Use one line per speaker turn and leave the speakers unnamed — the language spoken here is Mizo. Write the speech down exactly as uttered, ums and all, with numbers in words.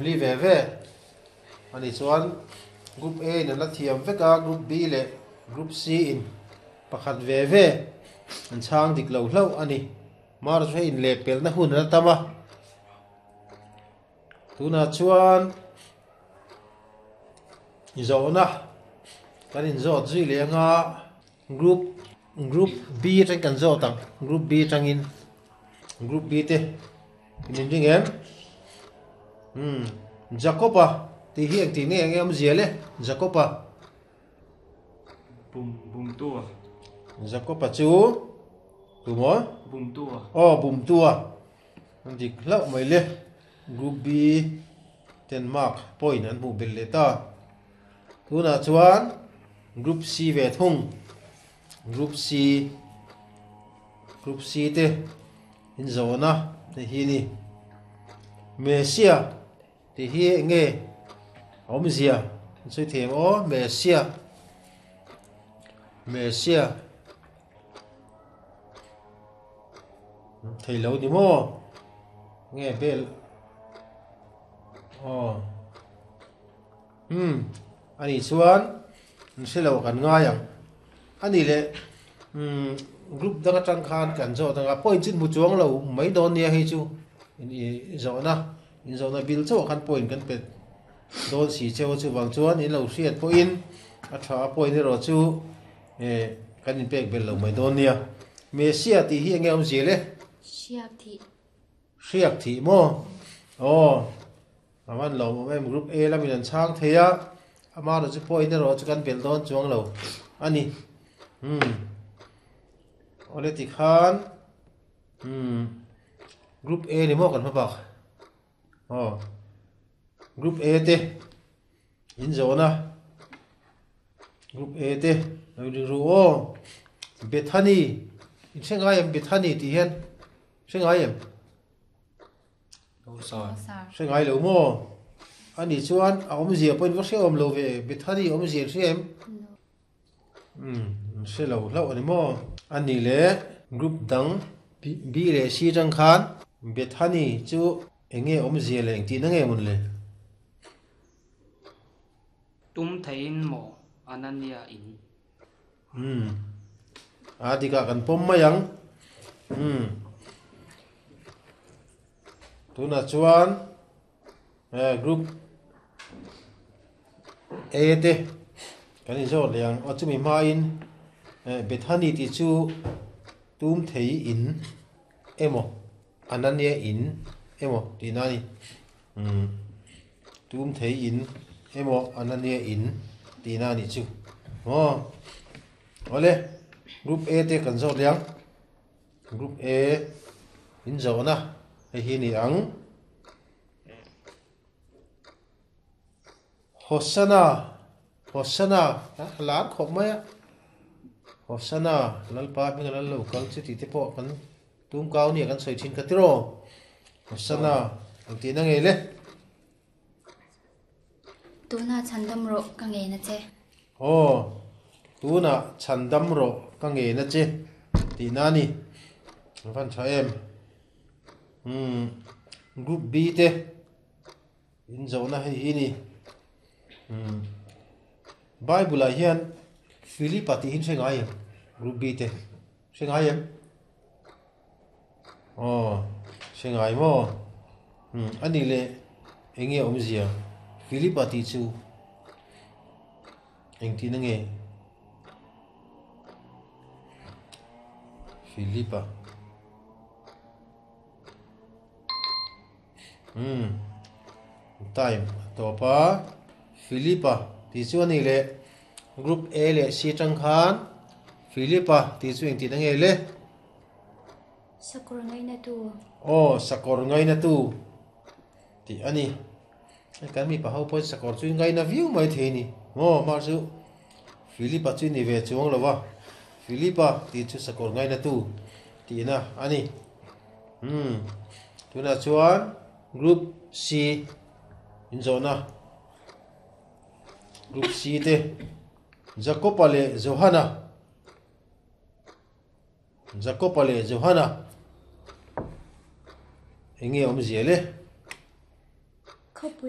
Li ve ve ani chuan group A in an la thiam vek a, group B leh group C in pakhat ve ve an chhang dik lo hlauh ani. Mar chu hei in leh pelhna hun an la tam a, tunah chuan zawhna kan inzawt zui leh anga group group B atang kan zawt ang, group B atangin group B te in inring em? Hmm, Jacoba tih hi engtih nge enge awmzia le Jacoba?
Bum bumtu a.
Jacoba chu tumaw?
Bumtu a.
Aw bumtu a, an dik hlauh mai le. Group B ten mark point an hmuh belh leh ta. Tunah chuan group C ve thung, group C group C te inzawhna te hi ni. Messia tih hi enge awmzia an sawi thei ang aw Messia Messia thei lo ni maw nge bel aw hmm ani chuan an hre lo kan ngai ang ani leh hmm group dang atang khan kan zawt anga point chu hmu chuang lo mai dawn nia hei chu in zawhna in zawhna bil chauh khan point kan pe dawn si cheu chu wang chuan in lo hriat pawhin a tha a point erawh chu eh kan in pek bel lo mai dawn nia. Messia tih hi enge awmzia le?
Hriak thih.
Hriak thih maw? Aw avan lo awm em group A lamin an chhang thei a, ama erawh chu point erawh chu kan bel dawn chuang lo ani. Hmm awle tikhan hmm group A ni maw kan hma bak aw group A te in zawhna group A te lo ring ru aw. Bethany in hre ngai em Bethany tih hian hre ngai em?
Lo sar.
Hre ngai lo maw? Ani chuan a awmzia pawhin va hre awm lo ve. Bethany awmzia in hre em? Hmm hre lo hlauh ani maw? Ani le group dang B leh C tang khan Bethany chu enge awmzia leh engtihna nge mawn le?
Tum theiin maw Anania in?
Hmm a dikah kan pawm mai ang. Hmm tunah chuan eh group A te kan inzawt leh ang. Aw chumi hmain eh Bethany tih chu tum thei in emaw Anania in emaw tihna ani. Hmm tum thei in emaw Anania in tihna ani chu. Aw awle group A te kan zawt leh ang. Group A in zawhna hei hi ni ang. Hosanna Hosanna a lar khawp mai a. Hosanna Lalpa hming lal lo kal chu tih te pawh kan tum kau nia kan sawi thin kha tiraw. Hosanna ang tihna nge le?
Tuna chhandam rawh ka nge na che.
Aw tuna chhandam rawh ka nge na che tihna ani. Van tha em. Hmm group B te in zawhna hei hi ni. Hmm Bible ah hian Philipa tih hi hre ngai em? Group B te hre ngai em? Aw hre ngai maw? Hmm ani le enge awmzia Philipa tih chu engtihna nge? Philipa hmm time tawp a. Philipa tih chu ani le group A leh C tang khan Philipa tih chu engtihna nge le?
Sakawr ngaina tu.
Aw sakawr ngaina tu tih ani. Kan mi pa ho pawhin sakawr chu ngaina viau mai thei ni. Maw mar chu Philipa chu ni ve chuang lo va. Philipa tih chu sakawr ngaina tu tihna ani. Hmm tunah chuan group C in zawhna group C te Jacoba leh Johana Jacoba leh Johana enge awmzia le?
Khawpui